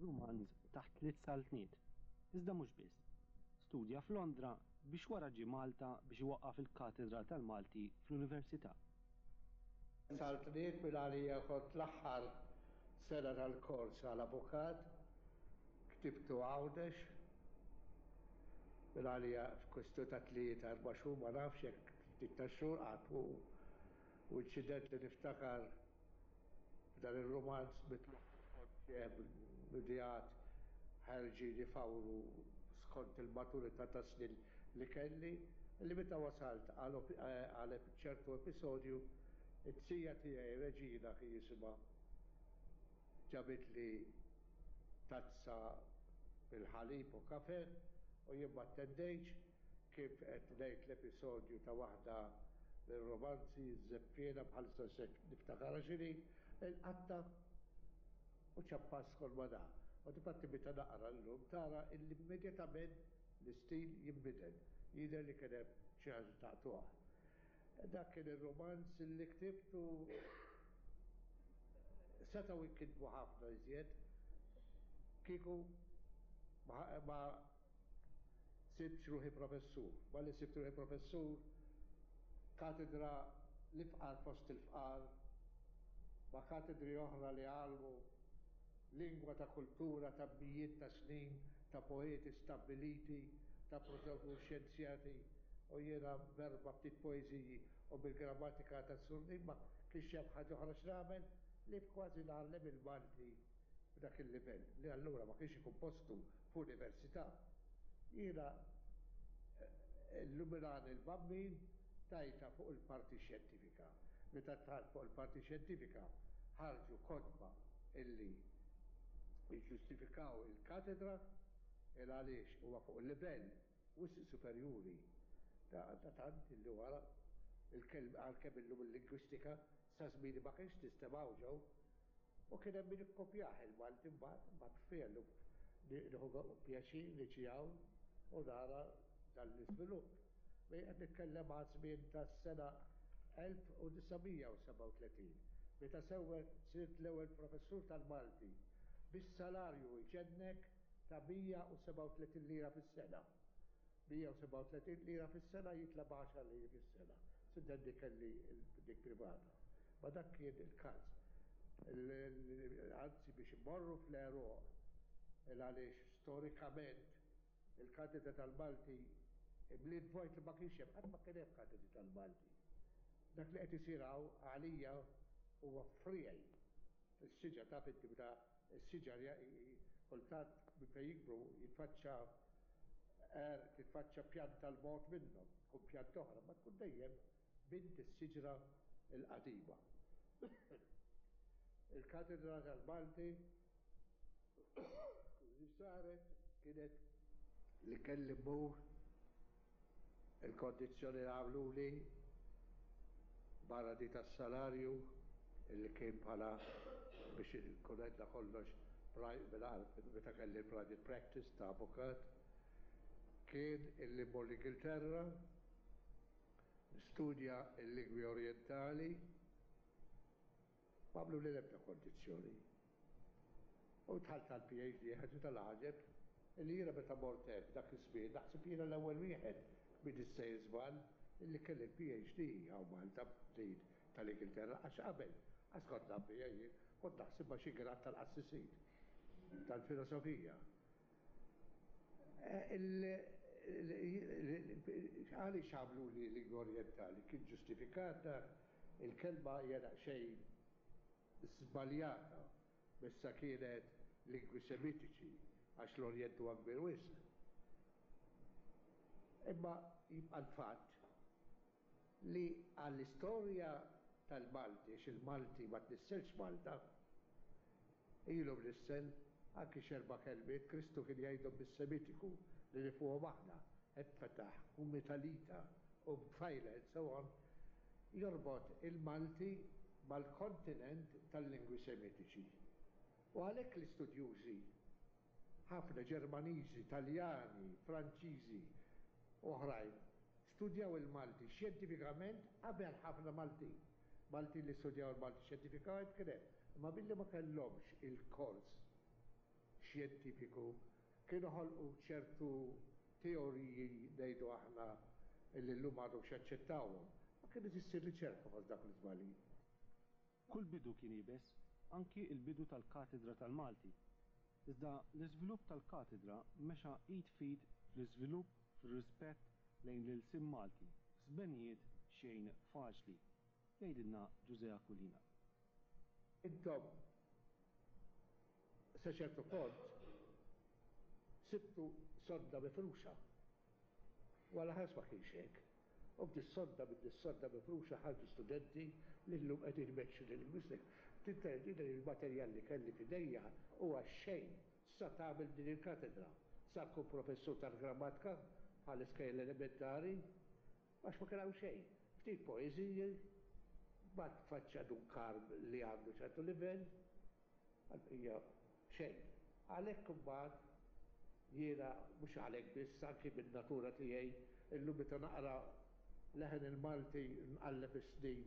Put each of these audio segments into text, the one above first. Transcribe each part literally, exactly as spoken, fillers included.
rumanz Taħt Tliet Saltniet, iżda mhux biss. Studja f'Londra biex wara ġie Malta biex iwaqqaf il-Katedra tal-Malti fl-Università. Saltniet minn għalija kont l-aħħar sena tal-kors għal avukat, ktibtu Għawdex, minn għalija f'kwestjoni ta' tlieta erba' xhur, ma nafx jekk ftit ta' xhur qatt u inċident li niftakar f'dan ir-rumanz mitluf bidijat ħerġin ifawru skont il-maturità ta' snin li kelli, li meta wasalt għal ċertu episodju, it-tija tiegħi Reġina kien jisimha ġabitli tazza bil-ħalib u kafe u jien ma attendejtx kif qed ngħid l-episodju ta' waħda mir-romanzi Żeffiena bħalissa se niftakarha x'inhi, il-qatta u ċappas kol ma da. U difatti meta naqra llum tara illi immedjatament l-istil jinbidel, jidher li kien hemm xi ħaġa taqtuha. Dak kien ir-romanz li ktibtu setgħu jinkitbu ħafna iżjed kieku ma sibtx ruħi professur. Malli sibt ruħi professur, katedra l-ifqar fost il-fqar, ma' katedri oħra li għallmu lingwa ta' kultura ta' mijiet ta' snin, ta' poeti stabbiliti, ta' professur xjenzjati, u jiena b'erba' ftit poeżiji u bil-grammatika ta' Surnin ma kienx hemm ħaġa oħra x'nagħmel li kważi ngħallem il-Malti f'dak il-livell li allura ma kienx ikun postu f'università. Jiena illuminani l-Bambin tajta fuq il-parti xjentifika. Meta dħalt fuq il-parti xjentifika ħarġu kotba illi jiġġustifikaw il-katedra il għaliex huwa fuq il-livell wisq superjuri ta' tant illi wara għalkemm illum il-lingwistika sa żmieni ma kienx tistemgħu ġew u kien hemm min ikkopjah il-Malti mbagħad mbagħad fiha llum nieħu pjaċir niġi hawn u nara dan l-iżvilupp. Qed nitkellem għal żmien tas-sena elf u disa' mija u sebgħa u tletin meta sewwet sirt l-ewwel professur tal-Malti bis-salarju jġennek ta' mija u sebgħa u tletin lira fis-sena. mija u sebgħa u tletin lira fis-sena jitla' b'għaxar liri fis-sena. Sintendi kelli dik privata. Ma dak kien il-każ. Anzi biex immorru fl-għeruq il għaliex storikament il-katedra tal-Malti imliet vojt li ma kienx hemm, qatt ma kien hemm katedri tal-Malti. Dak li qed isir hawn għalija huwa friegħi. Is-siġar taf inti meta s-siġar kultant minn fejn jikbru jitfaċċa er, titfaċċa pjanta l-bogħod minnhom, tkun pjanta oħra, ma tkun dejjem bint is-siġra l-qadima. Il-katedra tal-Malti li saret kienet li kelli mmur il-kondizzjoni li għamluli barra di tas-salarju illi kien bħala biex nkun għedna kollox meta kelli private practice ta' avukat kien illi mmur l-Ingilterra nistudja l-lingwi orientali ma għamlu li l-ebda kondizzjoni. U dħalt għal P H D ħaġa tal-għaġeb illi jiena meta mort hemm dak iż-żmien naħseb jiena l-ewwel wieħed min issejjer żball illi kelli l-P H D hawn Malta din tal-Ingilterra għax qabel għax kont naf bija jien kont naħsibha xi grad tal-qassisin tal-filosofija. Għaliex għamlu li lingwa orientali kien ġustifikata il-kelma hija daqsxejn żbaljata messa kienet lingwi semitiċi għax l-Orjent huwa kbir wisq. Imma jibqa' l-fatt li għall-istorja tal-Malti, għax il-Malti ma tnisselx Malta, ilu mnissel anki x'erba' kelmiet Kristu kien jgħidhom bis-Semitiku li nifuhom aħna, Effetaħ, u Metalita, u Bfajla, and so on, jorbot il-Malti mal-kontinent tal-lingwi Semitiċi. U għalhekk l-istudjużi, ħafna Ġermaniżi, Taljani, Franċiżi, oħrajn, studjaw il-Malti xjentifikament qabel ħafna Maltin. Maltin li studjaw il-Malti xjentifikament kien hemm, imma billi ma kellhomx il-kors xjentifiku, kienu ħolqu ċertu teoriji, ngħidu aħna, illi llum għadhom xaċċettawhom. Ma kienet issir riċerka fost dak l-iżbalji. Kull bidu kien iebes, anki l-bidu tal-Katedra tal-Malti. Iżda l-iżvilupp tal-katedra mexa id f'id fl-iżvilupp fir-rispett lejn l-ilsien Malti f'żmenijiet xejn faċli, jgħidilna Ġużè Aquilina. Intom sa ċertu punt sibtu sodda mifruxa. Wara ħares ma kienx hekk. U b'dis-sodda minn dis-sodda mifruxa ħarġu studenti li llum qegħdin imexxu lil-lingwistika. Tintendi li l-materjal li kelli f'idejja huwa xejn sa tagħmel din il-katedra. Sa tkun professur tal-grammatika bħall-iskejjel elementari, għax ma kien hawn xejn. Ftit poeżiji, mbagħad tfaċċa Dun Karm li għandu ċertu livell, għall-bqija xejn. Għalhekk imbagħad jiena, mhux għalhekk biss, anki min-natura tiegħi, illum meta naqra Leħen il-Malti nqalleb is-snin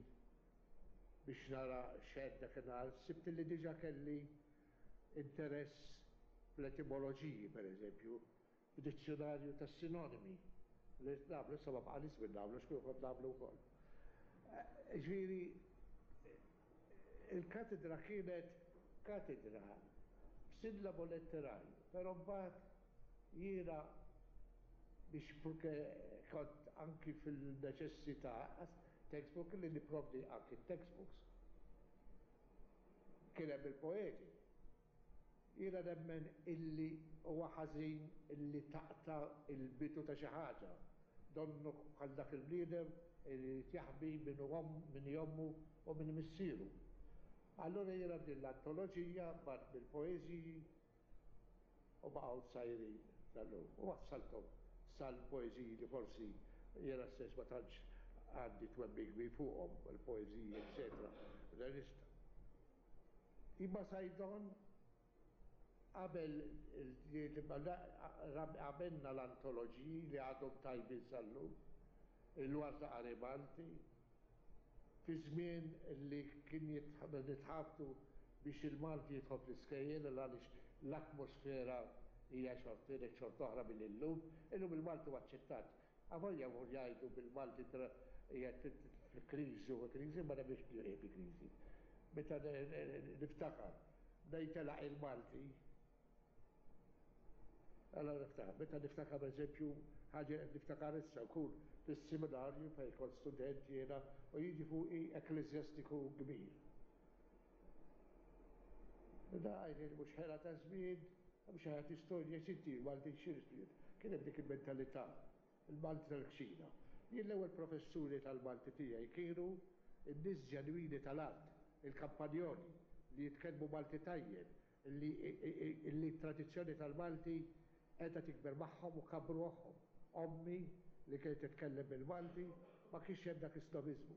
biex nara x'għedt dakinhar, sibt li diġà kelli interess fl-etimoloġiji, pereżempju, b'dizzjunarju tas-sinonimi li qed nagħmlu, issa ma baqagħlix żmien nagħmlu għax kieku kont nagħmlu wkoll. Jiġifieri il-katedra kienet katedra b'sillabo letterarju, però mbagħad jiena biex purché kont anki fil-neċessità textbook li nipprovdi anki t-textbooks. Kien hemm il-poeti. Jiena nemmen illi huwa ħażin illi taqta' l-bidu ta' xi ħaġa. Donnu bħal dak il-bniedem illi jrid jaħbi min hu min hi ommu u min hi missieru. Allura jiena din l-antoloġija bgħatt mill-poeżiji u baqgħu sajrin sal-lum. U wassalthom sal-poeżiji li forsi jiena stess ma tantx għandi twemmin kbir fuqhom, il-poeżiji eċċetera Modernista. Imma Saydon qabel għamilna l-antoloġiji li għadhom tajbin sal-lum, il-Warda Qari Malti, fi żmien li kien nitħabtu biex il-Malti jidħol fl-iskejjel għaliex l-atmosfera hija xorta xorta oħra milli llum. Illum il-Malti huwa aċċettat. Avolja jmur jgħidu bil-Malti qiegħed fi kriżi u kriżi, ma nemminx li qiegħed fi kriżi. Meta niftakar bdejn telaq il-Malti, allora niftakar, meta niftakar pereżempju ħaġa qed niftakar issa nkun fis-seminarju fejn kont student jiena u jiġi fuqi ekkleżjastiku kbir. Da għajnejn mhux ħela ta' żmien, mhux ħela tistorja, x'inti Malti x'inti. Kien hemm dik il-mentalità, il-Malti tal-kċina. Jien l-ewwel professuri tal-Malti tiegħi kienu n-nies ġenwini tal-art, il-kampanjoli, li jitkellmu Malti tajjeb, li t-tradizzjoni tal-Malti qiegħda tikber magħhom u kabbru magħhom. Ommi li kienet titkellem bil-Malti, ma kienx hemm dak is-snobiżmu.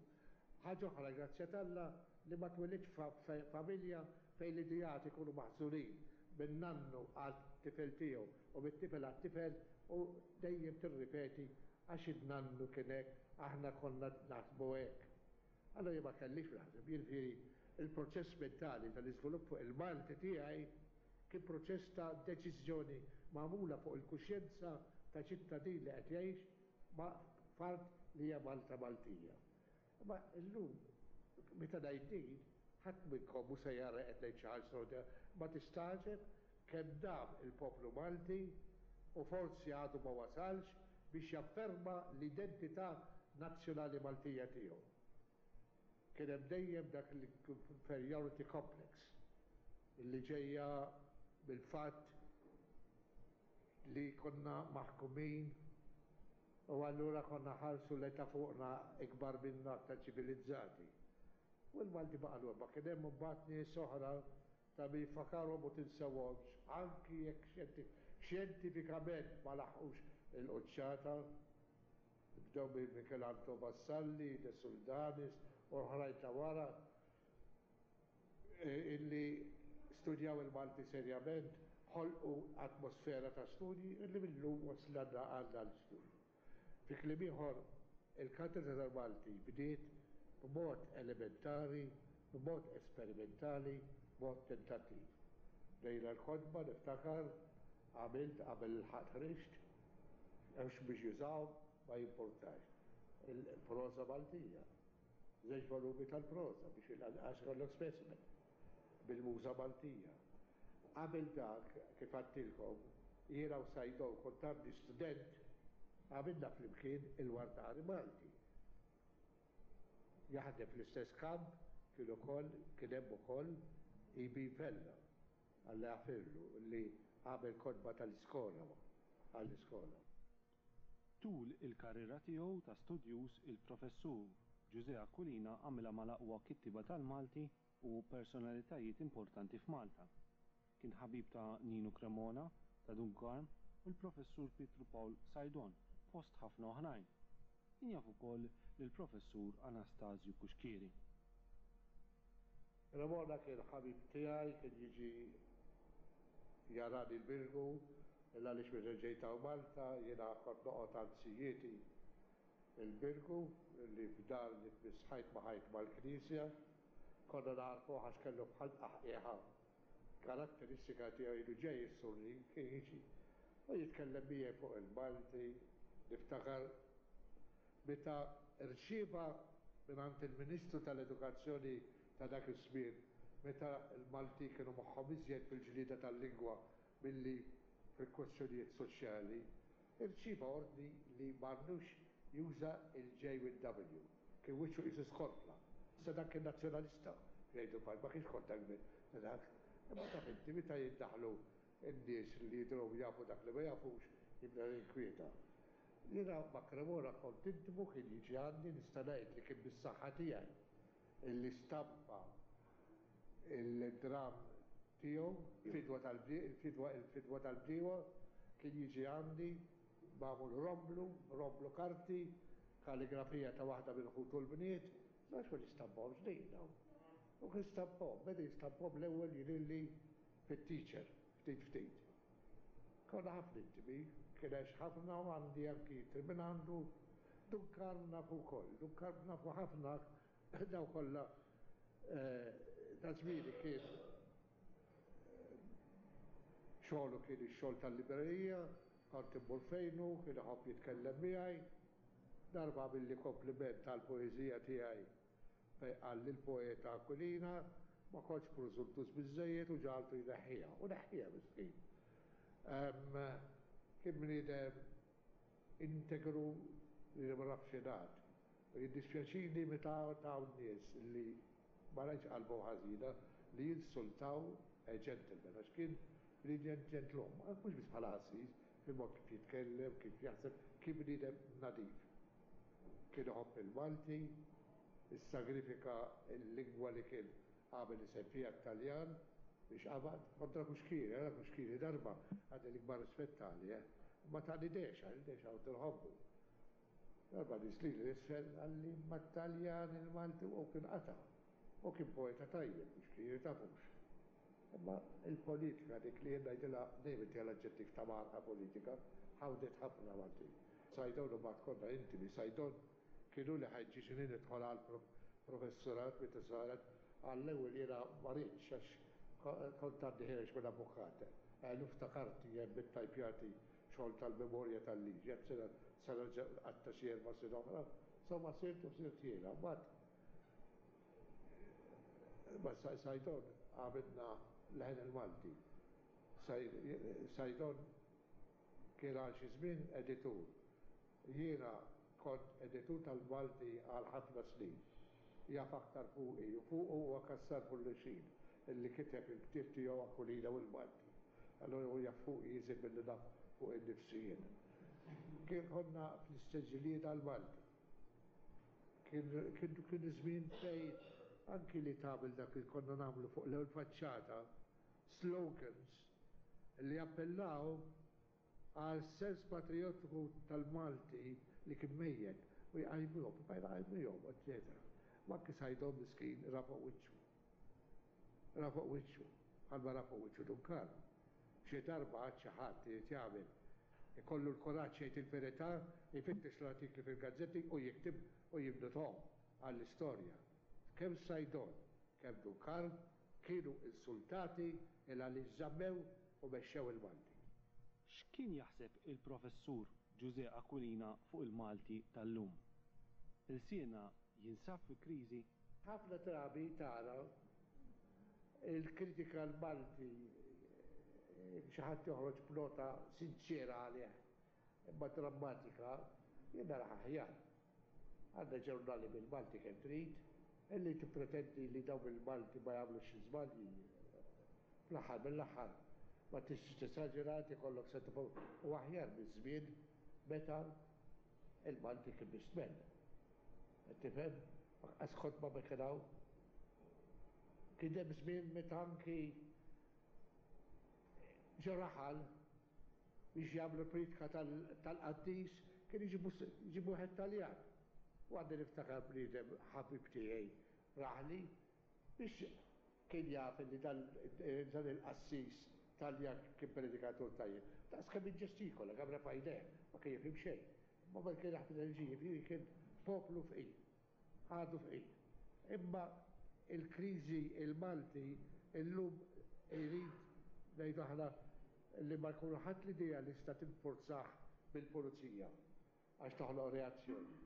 Ħaġa oħra, grazzja t'Alla, li ma twelidtx f'familja fejn l-ideat ikunu maħżunin minn nannu għat-tifel tiegħu u mit-tifel għat-tifel u dejjem tirripeti għax in-nannu kien hekk, aħna konna naħsbu hekk. Allura jien ma kellix naħseb, jiġifieri l-proċess mentali tal-iżvilupp fuq il-Malti tiegħi kien proċess ta' deċiżjoni magħmula fuq il-kuxjenza ta' ċittadin li qed jgħix ma' f'art li hija Malta Maltija. Imma llum meta ngħid din, ħadd minnkom mhu se jara qed ngħid xi ħaġa straordinarja, imma tistagħġeb kemm dam il-poplu Malti u forsi għadu ma wasalx biex jafferma l-identità nazzjonali Maltija tiegħu. Kien hemm dejjem dak l-inferiority complex li ġejja mill-fatt li konna maħkumin u allura konna nħarsu lejn ta' fuqna ikbar minna, aktar ċivilizzati. U l-Malti baqa' lura. Ma kien hemm imbagħad nies oħra ta' min jfakarhom u tinsewhomx, anki jekk xjentifikament ma laħqux il-quċċata. Bdew minn Michelangelo Vassalli, De Soldanis u oħrajn ta' wara illi studjaw il-Malti serjament, ħolqu atmosfera ta' studji illi mil-lum waslana għal dan l-istudju. Fi kliem ieħor, il-Katedra tal-Malti bdiet b'mod elementari, b'mod esperimentali, b'mod tentattiv. Bdejna l-kotba, niftakar, għamilt qabel il-ħadd ħriġt, hemmx biex jużaw, ma jimpurtax. Il-proża Maltija. Żewġ volumi tal-proża biex għax kollok specimen bil-muża Maltija. Qabel dak, kif għedtilkom, jiena u Saydon kont għandi student, għamilna flimkien il-Wardari Malti. Jaħdem fl-istess kamp kien ukoll kien hemm ukoll E B. Vella, Alla jaħfirlu, li għamel kotba tal-iskola għall-iskola. Tul il-karriera tiegħu ta' studjuż, il-Professur Ġużè Aquilina għamilha mal-aqwa kittiba tal-Malti u personalitajiet importanti f'Malta. Kien ħabib ta' Ninu Cremona, ta' Dun Karm u l-Professur Pietru Pawl Saydon, fost ħafna oħrajn. Kien jaf ukoll lill-Professur Anastasju Cuschieri. Cremona kien ħabib tiegħi, kien jiġi jarani l-Birgu, illa għaliex meta ġejt hawn Malta, jiena kont noqgħod għand zijieti il-Birgu, li f'dar li tmiss ħajt ma' ħajt mal-Knisja, konna narfu għax kellu bħal tqaħqiħa. Karatteristika tiegħu ilu ġej is-Sunni kien jiġi. U jitkellem miegħi fuq il-Malti, niftakar meta rċieva mingħand il-Ministru tal-Edukazzjoni ta' dak iż-żmien, meta l-Malti kienu moħħhom iżjed fil-ġlieda tal-lingwa milli fil-kwestjonijiet soċjali, irċieva ordni li m'għandux juża il-J with W. Kien wiċċu qisu skorfla. Issa dak kien nazzjonalista, jgħidu bħal ma kienx konta ta' dak. Imma taf inti meta jiddaħlu n-nies li jidhru jafu dak li ma jafux, jibda jinkwieta. Jiena ma' Cremona kont intimu, kien jiġi għandi, nista' ngħid li kien bis-saħħa tiegħi illi stampa il-dram tiegħu, fidwa tal-fidwa il-fidwa tal-bdiewa, kien jiġi għandi magħmul romblu, romblu karti, kalligrafija ta' waħda minn ħutu l-bniet, għax ma nistampahomx din dawn. U kien stampahom, beda jistampahom l-ewwel jidhirli fit-Teacher, ftit ftit. Konna ħafna intimi, kien għex ħafna u għandi anki minn għandu. Dun Karm nafu wkoll, Dun Karm nafu ħafna daw kollha ta' żmieni. Kien xogħlu kien ix-xogħol tal-librerija, kont immur fejnu, kien iħobb jitkellem miegħi. Darba għamilli kompliment tal-poeżija tiegħi fejn qal li l-poeta Aquilina ma kontx preżuntus biżejjed u ġagħaltu jneħħiha. U neħħiha, miskin. Kien bniedem integru li ma nafx jingħad. U jiddispjaċini meta taw nies li ma rajtx qalbhom ħażina li jinsultaw a gentleman, għax kien bniedem gentleman, mhux biss bħala qassis, fil-mod kif jitkellem, kif jaħseb, kien bniedem nadif. Kien iħobb il-Malti, issagrifika l-lingwa li kien għamel isem fiha, Taljan, biex qabad kontra Cuschieri. Għara Cuschieri darba għandi l-ikbar rispett għali, eh? Ma tani dexa, dexa u nħobbu. Darba niżli l-isfel qalli ma Taljan il-Malti u kien qata. U kien poeta tajjeb, Cuschieri, tafux. Imma il-politika dik li jenna jgħidilha dejjem inti l-aġġettiv ta' marqa politika, ħawdet ħafna Malti. Saydon u bat konna intimi, Saydon kienu li ħeġġiġni nidħol għal professorat meta saret għall-ewwel. Jiena ma ridtx għax kont għadni ħiereġ minn avukat. Għallu ftakart jien bit-tajpjati xogħol tal-memorja tal-liġi, għad sena sena għatta xi erba' sena oħra, insomma sirt u sirt jiena. Mbagħad ma Saydon għamilna Leħen il-Malti. Saydon kien għal xi żmien editur. Jiena kont editur tal-Malti għal ħafna snin. Jaf aktar fuqi u fuqu huwa Cassar Pullicin illi kiteb il-ktieb tiegħu Aquilina u l-Malti. Allora hu jaf fuqi iżjed milli naf fuq innifsi jien. Kien konna fl-istess ġlieda għall-Malti. Kien kien żmien fejn anki li tagħmel dak li konna nagħmlu fuq l-ewwel faċċata, slogans li appellaw għal sens patriottiku tal-Malti li kien mejjet u jqajmuhom, jqajmuhom, eċċetera. Ma anki Saydon miskin ra fuq wiċċu. Ra fuq wiċċu, bħalma ra fuq wiċċu Dun Karm. Xi darba għad xi ħadd irid jagħmel ikollu l-kuraġġ jgħid il-verità, jfittex l-artikli fil-gazzetti u jiktib u jibnuthom għall-istorja. Kemm Saydon, kemm Dun Karm, Kienu insultati il għaliex żammew u mexxew il-Malti. X'kien jaħseb il-Professur Ġużè Aquilina fuq il-Malti tal-lum? Ilsienna jinsab fi kriżi? Ħafna drabi tara il-kritika l-Malti xi ħadd joħroġ b'nota sinċera għalih imma drammatika, jien naraha aħjar. Għandna ġurnali bil-Malti kemm trid, illi tippretendi li dawn il-Malti ma jagħmlux xi żbalji. Fl-aħħar mill-aħħar ma tistax tesaġera, ikollok se u aħjar biż-żmien meta il-Malti kien bistmel. Tifhem? Lanqas kotba ma kien hawn. Kien hemm żmien meta anki ġo raħal biex jagħmlu priedka tal-qaddis kien iġibu wieħed Taljan. U għandi niftakar bniedem ħabib tiegħi raħli biex kien jaf li dan il-qassis Taljan kien predikatur tajjeb. Daqs kemm iġġestikola, kemm refa' jdejh, ma kien jifhem xejn. Ma ma kien jaħdem enerġija, kien poplu fqir, għadu fqir. Imma il-kriżi il-Malti illum irid ngħidu aħna li ma jkunu ħadd l-idea li sta tinforzah bil-pulizija għax toħloq reazzjoni.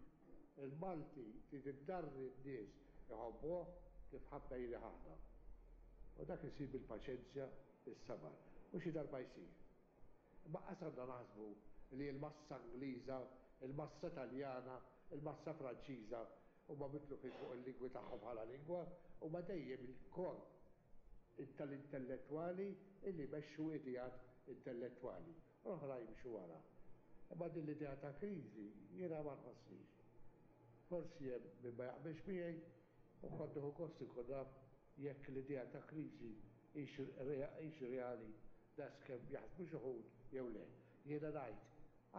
Il-Malti trid iddarri n-nies iħobbuh kif ħabbejni aħna. U dak isir bil-paċenzja, bis-sabar. U xi darba jsir. Imma qas għandna naħsbu li l-massa Ingliża, il-massa Taljana, il-massa Franċiża huma mitlufin fuq il-lingwi tagħhom bħala lingwa, huma dejjem il-korp tal-intellettwali illi jmexxu ideat intellettwali. U l-oħra jimxu wara. Imma din l-idea ta' kriżi jiena ma nħossnix. Forsi hemm min ma jaqbilx miegħi u kont nieħu gost inkun naf jekk l-idea ta' kriżi hix reali daqskemm jaħsbu xi wħud jew le. Jiena ngħid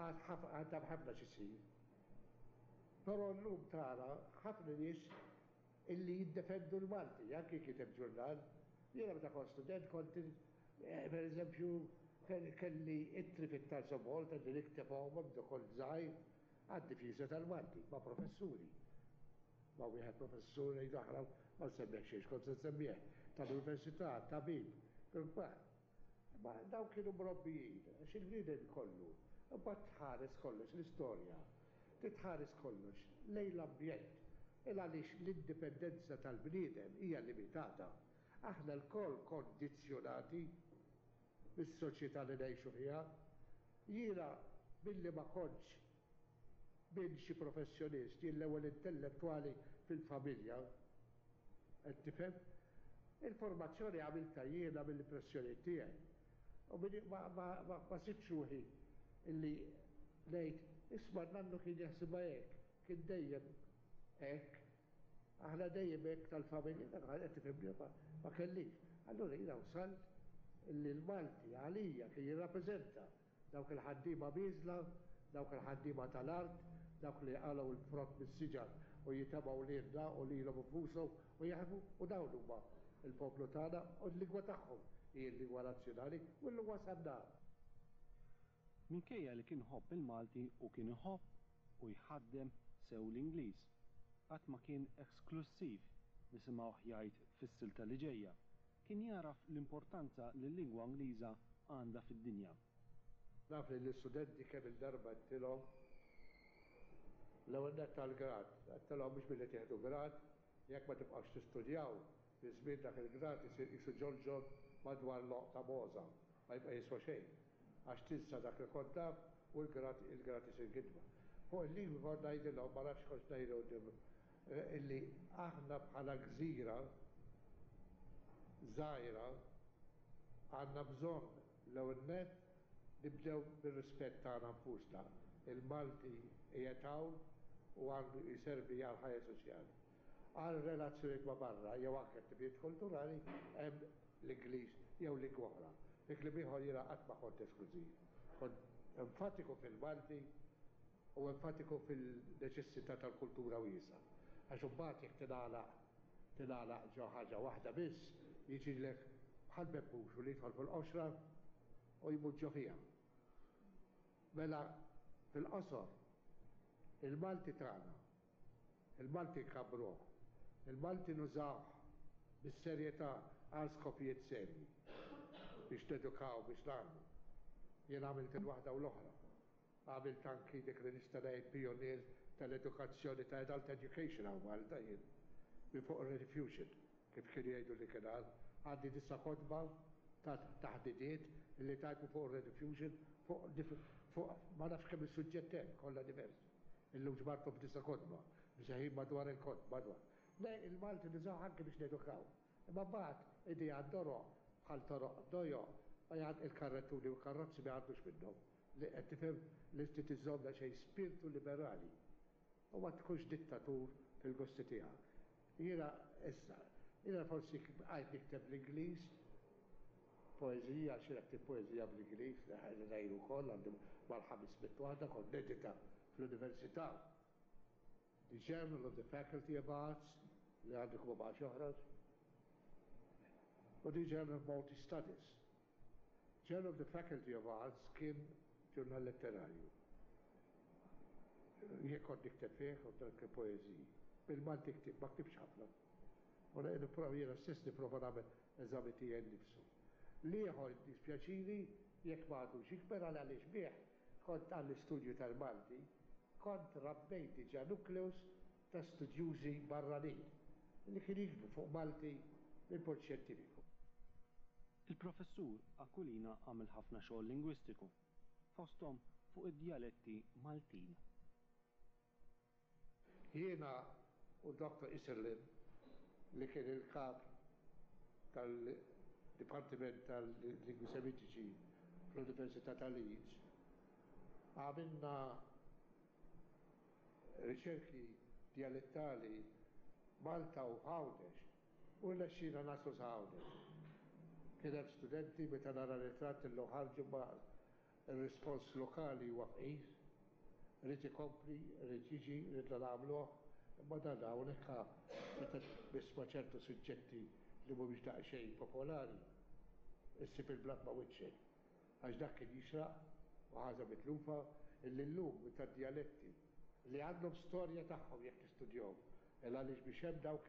għad hemm ħafna x'isir. Però llum tara ħafna nies illi jiddefendu l-Malti, anki kiteb ġurnal. Jiena meta kont student kont per eżempju kelli ittri fit-Times of Malta li niktebhom meta kont żgħir għad-difiża tal-Malti ma' professuri. Ma' wieħed professur ngħidu aħna ma nsemmih xejn, kont se nsemmih tal-università, tabib, kbar. Ma dawn kienu mrobbijin, għax il-bniedem kollu, imbagħad tħares kollox l-istorja, titħares kollox lejn l-ambjent, il għaliex l-indipendenza tal-bniedem hija limitata. Aħna lkoll kondizzjonati bis-soċjetà li ngħixu fiha. Jiena billi ma kontx bin xi professjonist, jien l-ewwel intellettwali fil-familja, qed tifhem? Il-formazzjoni għamiltha jiena mill-impressjoni tiegħi. U ma, ma, ma, ma sibx ruħi illi ngħid, isma' nannu kien jaħsibha hekk, kien dejjem hekk, aħna dejjem hekk tal-familja, qed tifhimni, ma, ma kellix. Allura jiena wsalt illi l-Malti għalija kien jirrappreżenta dawk il-ħaddiema bieżla, dawk il-ħaddiema tal-art, dawk li qalgħu l-frott mis-siġar u jitemgħu lilna u lilhom infushom u jaħdmu, u dawn huma il-poplu tagħna u l-lingwa tagħhom hi l-lingwa nazzjonali u llum wasalna. Minkejja li kien ħobb il-Malti u kien iħobb u jħaddem sew l-Ingliż, qatt ma kien esklussiv nisimgħuh jgħid fis-silta li ġejja. Kien jaraf l-importanza li l-lingwa Ingliża għandha fid-dinja. Naf li l-istudenti kemm il-darba għedtilhom l-ewwel nett tal-grad, għedtilhom mhux billi tieħdu grad, jekk ma tibqgħux tistudjaw, fi żmien dak il-grad isir qisu ġolġol madwar loq ta' moża, ma jibqa' jiswa xejn. Għax tinsa dak li kont taf u l-grad il-grad isir gidba. Fuq il-lingwi kont ngħidilhom, ma nafx kont ngħidu illi aħna bħala gżira żgħira għandna bżonn l-ewwel nett nibdew bir-rispett tagħna nfusna. Il-Malti qiegħed hawn u għandu jservi għal ħajja soċjali. Għal relazzjonijiet ma' barra jew anke attivitajiet kulturali hemm l-Ingliż jew lingwa oħra. Fi kliem ieħor jiena qatt ma kont esklużiv. Kont enfatiku fil-Malti u enfatiku fil-neċessità tal-kultura wiesgħa. Għax imbagħad jekk tingħalaq tingħalaq ġo ħaġa waħda biss, jiġilek bħal bebbuxu li jidħol fil-qoxra u jmut ġo fiha. Mela fil-qosor il-Malti tagħna, il-Malti nkabbruh, il-Malti nużawh bis-serjetà għal skopijiet serji biex nedukaw, biex nagħmlu. Jien għamilt il-waħda u l-oħra. Għamilt anki dik li nista' ngħid pionier tal-edukazzjoni ta' adult education hawn Malta jien. Minn fuq Rediffusion, kif kienu jgħidu li kien għandi disa' kotba ta' taħdidiet li tajtu fuq Rediffusion fuq fuq ma nafx kemm is-suġġett hemm, kollha diversi. Illum ġbartu f'disa' kotba, msejħin madwar il-kotba, madwar. Le, il-Malti nużaw anke biex nedukaw. Imma mbagħad idea toroq bħal toroq dojo, ma jgħad il-karrettuni u karrozzi ma jgħaddux minnhom. Li qed tifhem li inti tiżomm xejn spiritu liberali. U ma tkunx dittatur fil-gosti tiegħek. Jiena issa, jiena forsi għajt nikteb l-Ingliż, poeżija, xi nikteb poeżija bl-Ingliż, li ngħidu wkoll għandi mal-ħames mitt waħda kont nedita fl-università. The Journal of the Faculty of Arts, li għandi kuma baqax joħroġ, u the Journal of Maltese Studies. Journal of the Faculty of Arts kien ġurnal letterarju. Jien kont nikteb fih u dak poeżiji. Bil-Malti ktib, ma ktibx ħafna. U nipprova jiena stess nipprova nagħmel eżami tiegħi nnifsu. L-ieħor dispjaċini jekk ma għadux jikber għal għaliex bih kont għall-istudju tal-Malti, kont rabbejt diġà nukleus ta' studjużi barranin li kien jiktbu fuq Malti minn punt xjentifiku. Il-professur Aquilina għamel ħafna xogħol lingwistiku, fosthom fuq id-djaletti Maltin. Jiena u Doktor Isserlin, li kien il-kap tal-Dipartiment tal-Lingwi Semitiċi fl-Università ta' Leeds, għamilna riċerki dialettali Malta u Għawdex u rnexxielna naslu sa Għawdex. Kien hemm studenti meta nara ritratt illum ħarġu ma ir-rispons lokali huwa fqir, irid ikompli, irid jiġi, ridna nagħmluh, imma dan hawnhekk meta tmiss ma' ċertu suġġetti li mhumiex daqsxejn popolari, issib il-blat ma' wiċċek. Għax dak kien jixraq u ħaġa mitlufa illi llum tad-djaletti li għandhom storja tagħhom jekk tistudjahom. Il għaliex biex hemm dawk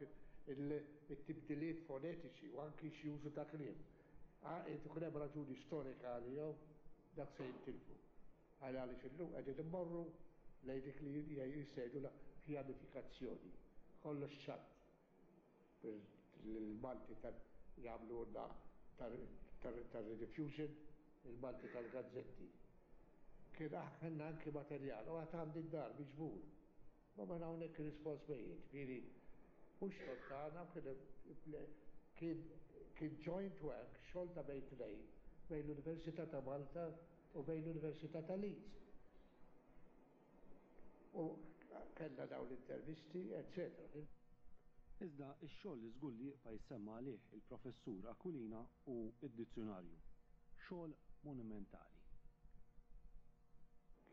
it-tibdiliet fonetiċi u anki xi użu ta' kliem. Ikun hemm raġuni storika għalihom, dak se jintilfu. Għal għaliex illum qegħdin immorru lejn dik li jissejħu la pjanifikazzjoni. Kollox ċatt. Il-Malti jagħmlu tar-Rediffusion, il-Malti tal-gazzetti. Kien aħna anki materjal, u għad għandi d-dar miġbur. Ma ma hawnhekk rispons mejjet, ġifieri mhux xogħol tagħna, kien kien joint work, xogħol ta' bejn tnejn, bejn l-Università ta' Malta u bejn l-Università ta' Leeds. U kellna dawn l-intervisti, eccetera. Iżda x-xogħol li żgur li jibqa' jissemma għalih il-professur Aquilina u d-dizzjunarju. Xogħol monumentali.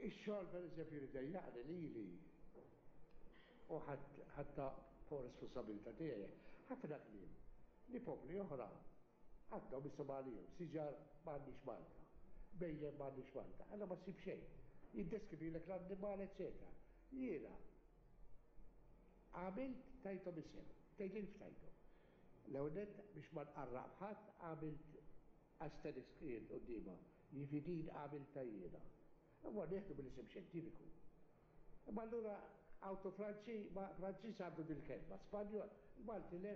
Ix-xogħol pereżempju li dejjaqni lili u ħatta fuq responsabilità tiegħi, ħafna kliem li popli oħra għandhom isimha għalihom, siġar m'għandix Malta, bejjem m'għandix Malta, għandna ma ssib xejn. Jiddeskrivilek l-annimal, eccetera. Jiena għamilt tajthom isem, tgħidli ftajthom. L-ewwel nett biex ma nqarraq b'ħadd għamilt asterisk jien quddiemha, jiġifieri din għamiltha jiena. Imma nieħdu mill-isem xjentifiku. Imma allura auto Franċi, ma Franċiż għandu dil-kelma, Spanjol, il-Malti le.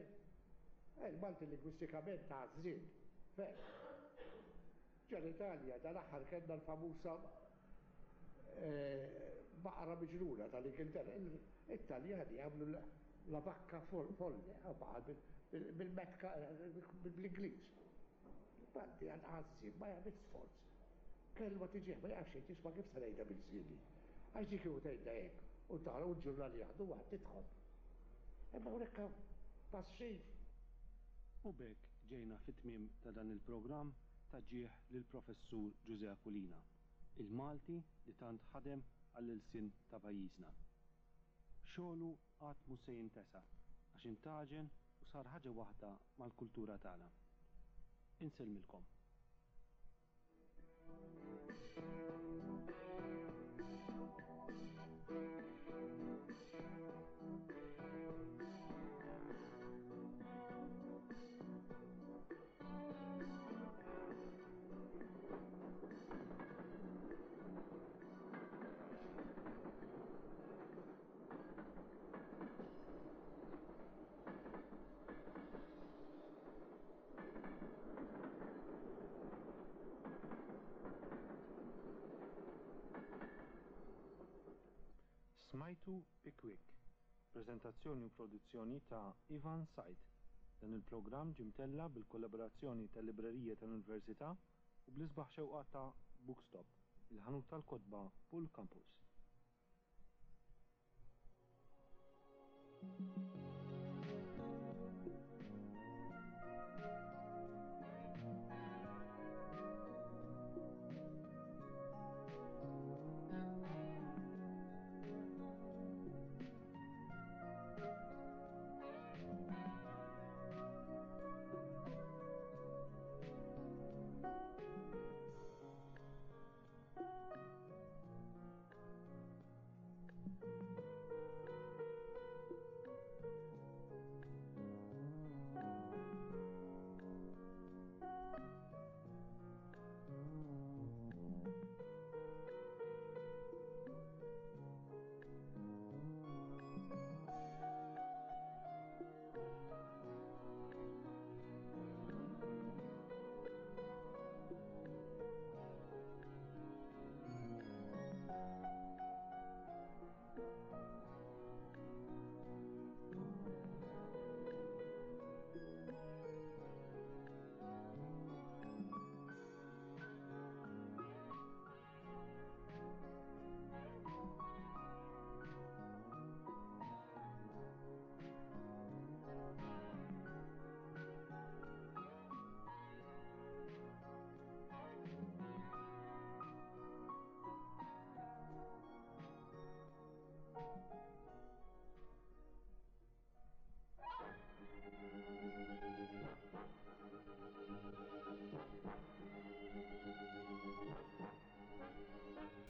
Il-Malti lingwistikament għażżien. Fer. Ġo l-Italja dal-aħħar kellna l-famusa baqra miġnuna tal-Ingilterra. It-Taljani għamlu la vacca folle, bil-metka, bil-Ingliż. Malti għal-għażżien ma jagħmel sforz. Kelma tiġih ma jafx jisma' kif se ngħidha bil-żieni. Għax dik kieku tgħidha hekk u tara u l-ġurnali jaħdu waħd tidħol. Imma hawnhekk passiv. U b'hekk ġejna fit-tmiem ta' dan il-programm ta' ġieħ lill-professur Ġużè Aquilina, il-Malti li tant ħadem għall-ilsien ta' pajjiżna. Xogħlu qatt mhux se jintesa għax intaġen u sar ħaġa waħda mal-kultura tagħna. Insellmilkom. Smajtu Pickwick, preżentazzjoni u produzzjoni ta' Ivan Said. Dan il-programm ġie mtella' bil-kollaborazzjoni tal-Librerija tal-Università u bl-isbaħ xewqa ta' Bookstop, il-ħanut tal-kotba Pool Campus.